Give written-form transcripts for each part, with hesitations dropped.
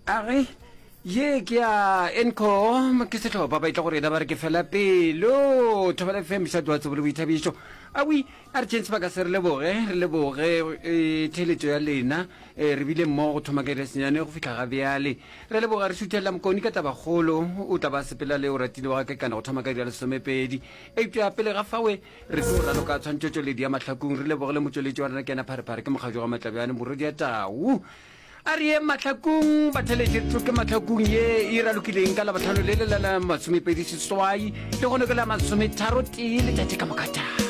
A re, Ye ke ya Encore, ke sehlopha ba etla go rena ba re ke fela pelo. Thobela FM, mošate wa tsebo le boithabišo. Awi, a re tšeeng sebaka se re leboge, re leboge e, theeletšo ya lena. E, re bile mmogo go thoma ka iri ya senyane go fihla ga bjale. Re leboga re šuthelela Mokoni ka tabakgolo, o tla ba sepela le o ratile wa ga Kekana go thoma ka iri ya lesomepedi. Eupša pele ga fawe, re tlo raloka tshwantšhotšweledi ya mahlakong. Re leboge le motšweletši wa rena ke yena Pharephare, ke mokgajo ga Matlabjane, morwedi ya Tau. A re yeng mahlakong, batheletši re tloke mahlakong ye e ralokileng ka Labohlano le le la la masomepedi seswai le gone ke la masometharo tee letšatši ka moka taa.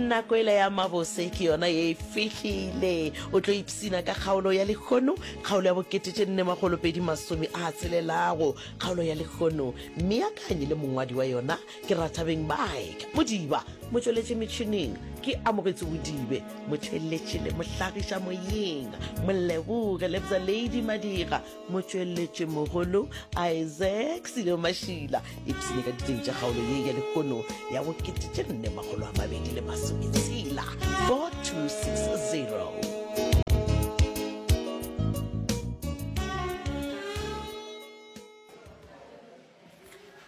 Nako ela ya mabose ke yona ye e fihlile. O tlo ipsina ka kgaolo ya lehono, kgaolo ya bokete tše nne makgolo pedi masome a tshelelago. Kgaolo ya lehono, mmeakanyi le mongwadi wa yona Ke Rathabeng Mike Modiba, motšweletši metšhineng ke Amogetse Bodibe, motšweletši le mohlagiša moyeng Moleboge Lebza Lady Madira, motšweletši mogolo Isaac Silo Mašila. Ipshine ka diteng tša kgaolo ye ya lehono ya bokete tše nne makgolo a mabedi le masometshela 4260.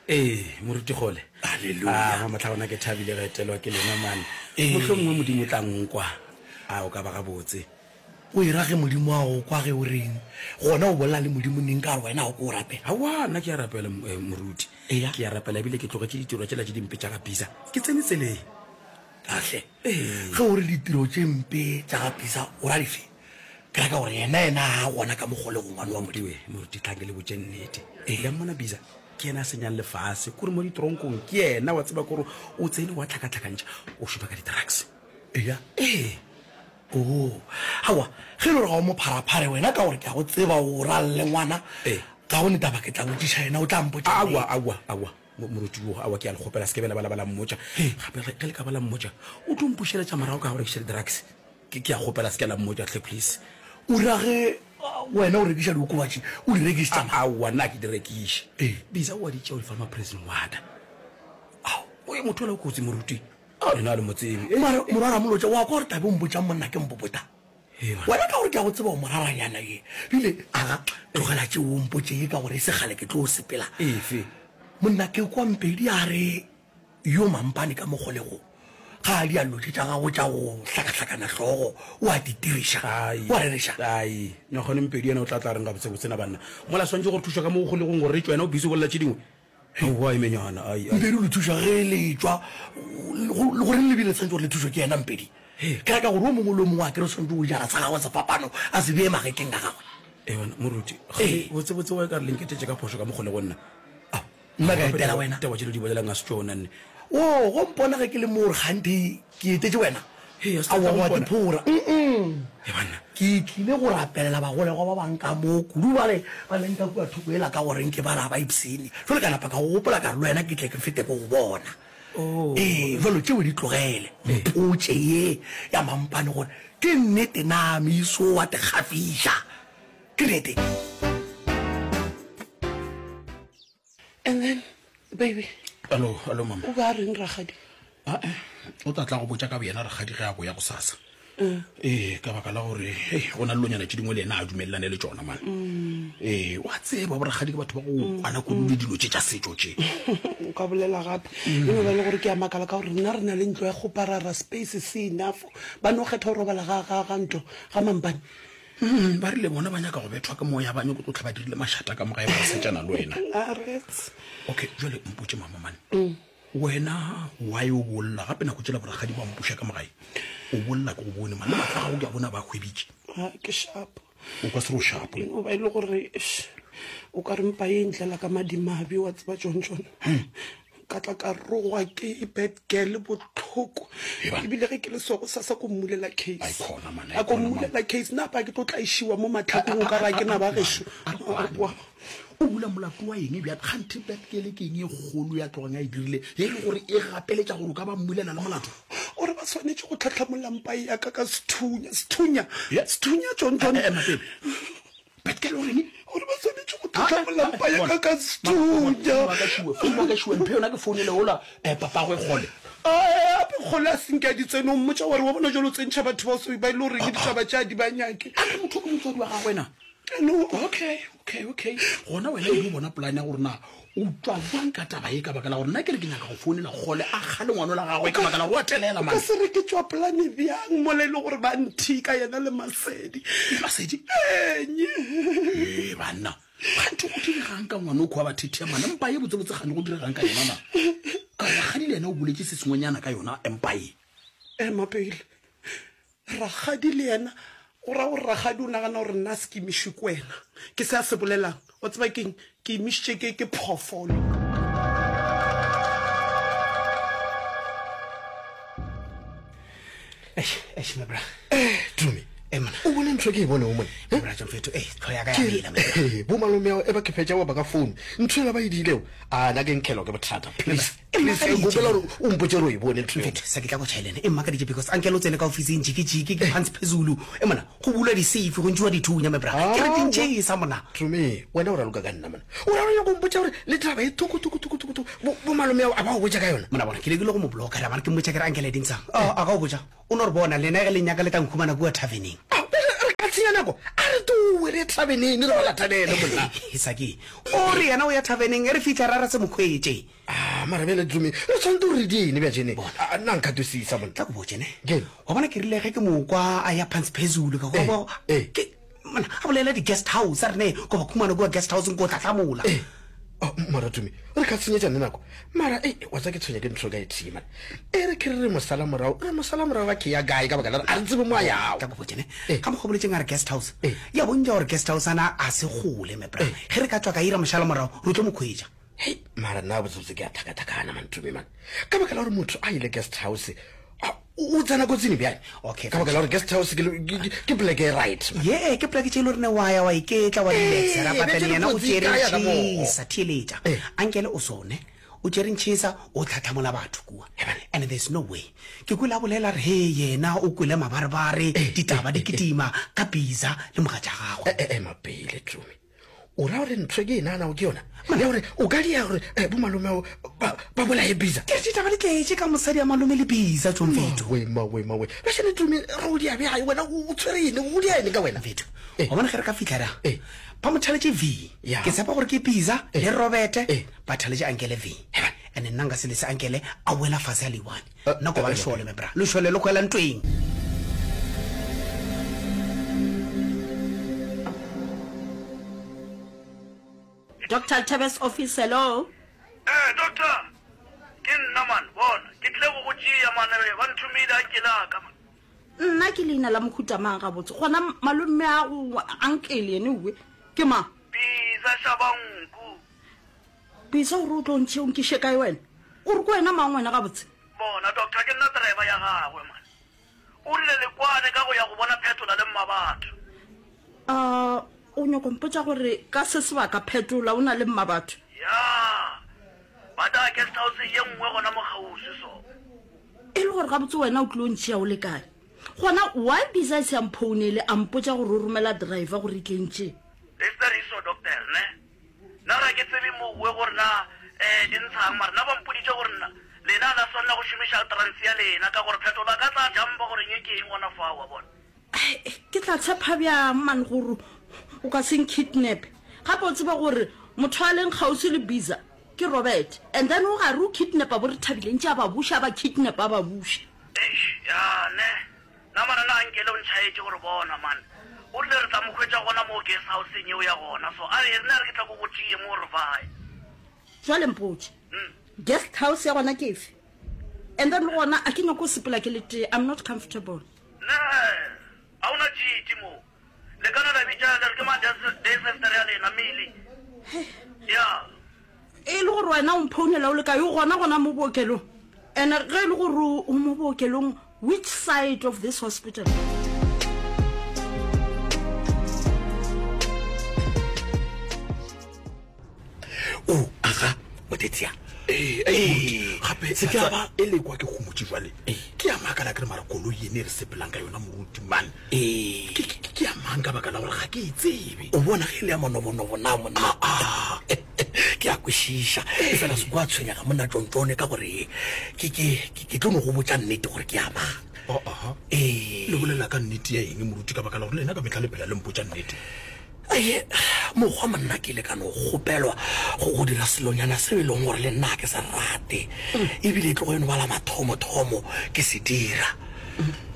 Ee, Moruti Kgole. Haleluya. Ah, mamohla gona ke thabile ge etelwa ke lena man. Ee. Mohlomongwe Modimo o tla nkwa. A o ka ba gabotse. O e ra ge Modimo a go kwa ge o reng? Gona o bolela le Modimo neng ka gore wena ga o ke o rapela? Aowa, nna ke a rapela, eh, Moruti. Eya. Ke a rapela ebile ke tlogetše ditiro tšela tše dimpe tša ga Bisa. Ke tsene tseleng. Kahle. Ee. Ge o re ditiro tše mpe tša ga Bisa, o ra dife? Ke ra ka gore yena yena ga a gona ka mo kgolegong ngwane wa Modimo. Moruti tla ke le botše nnete. Le a mmona Bisa? Ke yena a senyang lefase. Kore mo ditoronkong ke yena wa tseba kore o tsene wa tlhakatlhakantšha. O šoma ka di-drugs. Eya? Ee. Oo. Aowa, ge e le gore ga o mo pharaphare wena ka gore ke a go tseba o ra le ngwana, Ee. ga go ne taba ke tla botšiša yena o tla mpotša nnete. Aowa, aowa, aowa. Moruti wo, aowa ke a le kgopela se ke be la ba la ba la mmotša. Gape ge le ka ba la mmotša o tlo mpušeletša morago ka go rekiša di-drugs. Ke, ke a kgopela se ke la mmotša hle please. O ra ge wena o rekiša diokobatši, o di rekišetša mang? Aowa, nna ga ke di rekiše. Ee. Bisa o a di tšea o di fa ma-prison warder. Ao. Oye, motho yola o kotsi moruti. Ao, lena ga le mo tsebe. Mara morwa Ramolotša, wa kwa gore tla be o mpotšang monna ke mpopota? Ee, bana. Wena ka gore ke a go tseba o moraranyana ye. Bile, aga, tlogela tšeo o mpotše ye ka gore e se kgale ke tlo sepela. Efe? Monna ke kwa Mpedi a re. Yo mampane ka mo kgolegong, ga a diallo tše tša gagwe tša go hlakahlakana hlogo, o a di diriša. Ai, O a rereša. ai, Nyakgwane Mpedi yena o tla tla reng gabotsebotse na banna? Mola swantše go re thuša ka mo kgolegong gore re tšwe, yena o busy o bolela tše dingwe. Aowa, emenyana, ai, ai. Mpedi o le thuša ge le etšwa, go, le goreng le bile le swanetše gore le thušwe ke yena Mpedi? Ke ra ka gore o mongwe le o mongwe a kere o swanetše go jara sa gagwe sefapano a se bee magetleng a gagwe. Ee, banna, moruti, gane botsebotse wa e ka re le nketetše ka phošo ka mo kgolegong nna. Ao, nna ka etela wena. Taba tše le di bolelang ga se tšona nne. Oo, go mpona ge ke le mo gore kganthe ke etetše wena. Hei, a se tla Aowa, wa mpona. diphora. Mm-mm. He banna. Ke tlile go rapelela bagolegwa ba bang ka mo, kudu bale ba leng ka kua thoko yela ka gore nke ba re ga ba ipshine. Jwale ka napa ka go gopola ka re le wena ke tle ke fete ke go bona. Oh. Ee, jwalo tšeo di tlogele. Mpotše ye ya mampane gore ke nnete na Miso wa te gafiša. Ke nnete. And then, baby. Alo, alo mama. O ba reng rakgadi? Ae, o tla tla go botša ka boyena rakgadi ge a boya gosasa. Mm. Ee, ka baka la gore hei, go na le lonyana tše dingwe le yena a dumelelane le tšona man. Mm. Ee, wa tseba borakgadi ke batho ba go mm. kwana kudu le dilo tše tša setšo tše. O ka bolela gape. E no ba le gore ke a makala ka gore rena re na le ntlo ya kgoparara space se enough. Ba no kgetha go robala ga ga ga ntlo ga mampane. Mm, ba rile bona ba nyaka go bethwa ke moya ba nyako tlotlha ba dirile mašata ka moga e ba setšana le wena. Okay, jale mpotše mama mane. Mm. Wena why o bolla gape nako tšela borakgadi ba mpuša ka mogae? O bolla ke go bone man le mahlo a gago ke a bona ba hwebitše. Ha ke sharp. O ka se re o sharp. E no ba e le gore o ka re mpa e ntlela ka madimabe wa tseba tšone tšone. Hmm. Ka tla ka rogwa ke bad girl bohloko. Ebile ge ke le so gosasa ko mmulela case. Ai khona man, A ko mmulela case nna pa ke tlo tlaišiwa mo mahlakong o ka re a ke na ba gešo. O bula molato wa eng bjale? Kganthe bad girl ke eng e kgolo ya tlogang a e dirile e le gore e gapeletša gore o ka ba mmulela le molato? O re ba swanetše go tlhatlhamolla mpa ya ka ka sethunya, sethunya, sethunya John John. Ema pele. Bad girl o reng? O re ba swanetše go tlhatlhamolla mpa ya ka ka sethunya. Founu ya ka šiwe, founu ya ka šiwe, mphe yona ke founele ola eh, papagwe kgole. Gape kgole a senke a di tsene, o mmotša wa re wa bona jalo o tsentšha batho ba so ba e le gore ke ditaba tša di ba nyake. A re motho ke motswadi wa gagwe na? No. Okay, okay, okay. Gona wena e no bona polane ya gore na o tšwa jwang ka taba ye ka baka la gore nna ke re ke nyaka go founela kgole a kgale ngwano la gagwe ka baka la gore wa telela O ka man. se re ke tšwa polane bjang mola e le gore ba nthika yena le Masedi. Masedi? Enye. Ee banna. Kganthe go diregang ka ngwana o kua ba thethea mane mpa ye botsebotse kgane go diregang ka yona na? Ka gore rakgadi le yena o boletše se sengwenyana ka yona mpa ye. Ema pele. Rakgadi le yena o ra gore rakgadi o nagana gore nna se ke imišwe ke wena. Ke se a se bolelang. Wa tseba keng? Ke imišitše ke ke phoofolo. Eish, eish, my bra. Eh, Tumi. Eh, mona. O bone ntho e ke e bonego mone. My bra, Jomfetho, eh, tlho ya ka ya mela, my bra. Eh, bo malome ao e ba ke fetša wa ba ka phone. Ntho ela ba e diilego. A na ke nkhelwa ke bothata. Please. E Please, mmakaditše. ke kgopela gore o mpotše gore o e bone ntho eo. Mfetho, sa ke tla go tšhaelene. E mmakaditše because uncle o tsene ka ofising jiki-jiki, ke phansi phezulu. E mona, go bulwa di-safe, go ntšhiwa dithunya, my bra. Ke re di ntšhesa mona. Tumi, wena o raloka ka nna mona. O ra o nyaka go mpotša gore le taba e thoko thoko thoko thoko thoko bo bo malome ao a ba go botša ka yona. Mona bona, ke lekile go mo blocka, ra mara ke mmotša ke re uncle e dintshang. Oh, a ka o botša. O no re bona, lena ge le nyaka le tla nkhumana kua taverneng. Ao, bjale re ka senya nako? A re towe re ye taverneng re ba latanele, monna. Saki, o re yena o ya taverneng, e re fihla ra ra se mo hwetše. Ah, mara bjale Tumi, re tshwanetse gore re die eng bjajene? Ah, nna nka twisisa, monna. Tla ko botše, ne? Ke? Wa bona ke rile ge ke mo kwa a ya phansi phezulu, ka kwa, kwa, eh. ke, monna, a bolela di-guest house, a re ne, ko ba khumana kua guest house-eng ko hlahlamola. Eh. Oh, mara Tumi, re ka senyetša nne nako. Mara, ei, wa tseba ke tshwenya ke ntho ka e tee, man. E re ke re re mo sala morago, re mo sala morago a ke ya kae ka baka la gore a re tsebe mo a yago. Tla ko botše, ne? Eh. Ka mokgwa o boletseng a re guest house, Eh. ya bontša gore guest house ana a se kgole, my bra. Eh. Ge re ka tšwa ka ira mošala morago, re tlo mo khwetša. Hei, mara nna botsebotse ke a thakathakana, man, Tumi, man. Ka baka la gore motho a ile guest house, a, o tsena kotsing bjale. Okay, Ka baka la gore guest house ke, ke, ke, ke poleke e right, man. Ye, ke poleke tše e le gore ne wa ya wa iketla, wa relaxa, ra Ee, patela bjale yena o kotsi tšere e kae ya ka moo? ntšhisa, theeletša. Ee. Ankele o sone, o tšere ntšhisa, o tlhatlhamola batho kua. And there's no way. Ke kwele a bolela a re, he, yena o kwele mabarebare, ditaba di kitima ka Biza le mogatša gagwe. E, e, ema pele, Tumi. O ra gore ntho e ke e naganago ke yona ya gore o ka dia gore eh, bomalome ba ba bolaye Bisa? Ke re ditaba di tletše ka mosadi ya malome le Bisa, John Mfetho. Mawe, mawe, mawe. Bashane Tumi, re o dia bjang wena? O tshwere eng? O dia eng ka wena? Mfetho, Eh. wa bona ge re ka fihla ra Eh. ba mo thaletše V. Ya. Ke tshepa gore ke Bisa Eh. le Robert Eh. ba thaletše Ankele V. And nna nka se lese Ankele a wela fase a le one. Eh, Nna ko ba eh, lešole, my bra. Lešole le hwela ntweng. Doctor Tebes office, hello. Eh, doctor, ke nna man, bona, ke tlile go go tšea man, eh, ba nthomile a nkele a ka man. Nna ke leina la mohuta mang gabotse? Gona malome a go ankele ene uwe ke mang? Bisa Shabanku. Bisa gore o tlo ntšhe o nkiše kae wena? O re ke wena mang wena gabotse? Bona, doctor, ke nna driver ya gagwe man. O rile le kwane ka go ya go bona Phetola le Mmabatho. A o nyoko mpotša gore ka se sebaka Phetola o na le Mmabatho? Ya, ba tla guest house ye nngwe gona mo kgauswi so. E le gore gabotse wena o tlilo ntšhia o le kae? Gona why Bisa a se a mphounele a mpotša gore o romela driver gore e tle e ntšee? Lesteriso, Doctor, ne? Nna ga ke tsebe mowe gore na um di ntshang, mara nna ba mpoditše gore nna lena a la swanela go šomiša trans ya lena ka gore phetho ba ka tla jumpa gore nye ke eng gona fao, wa bona. Ai, ke tla tshepa bjang man gore o ka se nkidnape? Gape o tsebe gore motho a leng kgauswi le Biza ke Robert, and then o gare o kidnapa bo Rethabile ntše a ba buša, a ba kidnapa a ba buša. Eish, ya ne. Na mara na Ankele o ntšhaetše gore bona man. O rile re tla mo hwetša gona moo guest houseng yeo ya gona so a re nna re ke tla ko go tšee mo re bae. Jwale mpotše, guest house ya gona ke efe? And then le gona a ke nyako go sepela ke le tee, I'm not comfortable. Ne, ga o na tšiti mo. Le ka no la bitša le re ke mang desester ya lena, Millie? Ya. E le gore wena o mphounela o le kae? O gona gona mo bookelong? And ge e le gore o mo bookelong, which side of this hospital? O, aga, Motetsia. Ee, ee, gape Se ke a ba- e lekwa ke gomotše jwale ke a makala ke re mara koloi ene e re sepelang ka yona moruti man Ee. ke ke- ke ya mang ka baka la gore ga ke e tsebe O bona ge e le ya manobonobo na monna? Ke a kwešiša. Efela se kwa tshwenyega monna Tšontšone ka gore ke, ke, ke, ke tlo no go botša nnete gore ke ya mang. Oh, aha. Ee. Le bolela ka nnete ya eng, moruti, ka baka la gore lena ka mehla le phela le mpotša nnete? Aye, mokgwa monna ke ile ka no kgopelwa go, go dira selonyana seo e leng gore le nna ga ke se rate. Ebile e tlogo e no ba la mathomothomo ke se dira.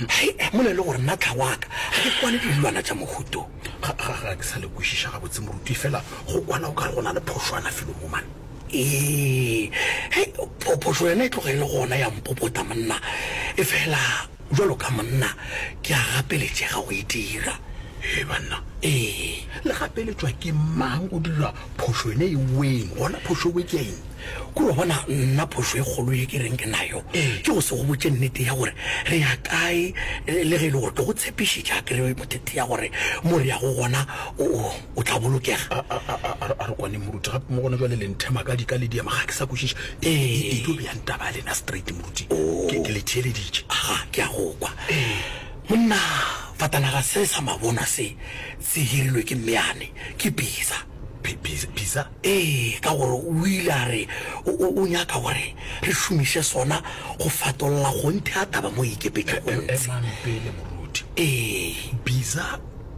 Hei, mola e le gore nna tlhago wa ka ga ke kwane le dilwana tša mohuto. Ga, ga, ga ke sa le kwešiša gabotse, moruti, efela go kwana o ka re go na le phošwana felo mo, man. Ee, hei, pho, phošo yona e tloga e le gona ya mpopota, monna. Efela bjalo ka monna ke a gapeletšega go e dira. Hee, banna. Ee. Le gapeletšwa ke mang go dira phošo yona e weng? Gona phošo ewe ke ya eng? Kore wa bona, nna phošo e kgolo ye ke reng ke nayo ke go se go botše nnete ya gore re ya kae, le ge e le gore ke go tshepišitše akere mothethe ya gore mo re yago gona o, o, o tla bolokega. A, a, a, a, a re kwane moruti, gape mo gona jwale le nthema ka dika le diema, ga ke sa kwešiša. E, e, e tlo beyang taba ya lena straight moruti. Ke, ke le theeleditše. Aga, ke a go kwa. Monna, fatanaga se sa mabonwa se se hirilwe ke mmeane, ke Bisa. Bisa? Ee, ka gore o ile a re o, o, o nyaka gore re šomiše sona go fatolla kgonthe ya taba mo e ikepetšego ntshe. Emang pele, moruti. Ee. Bisa?